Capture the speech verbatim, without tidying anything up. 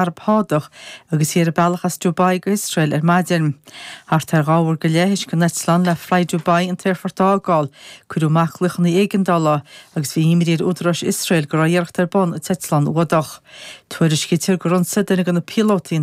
Araib Shádach agus í ar a bealach as Dubai go hIosrael ar maidin. Thart ar dhá uair go leith théis don eitleán le Fly Dubai an t-aerfort a fhágáil, cuireadh amach glaochanna éigeandála agus bhí imní ar údaráis Iosrael go raibh iarracht ar bun an t-eitleán a fhuadach. Tuairiscítear gur ionsaigh duine de na píolótaí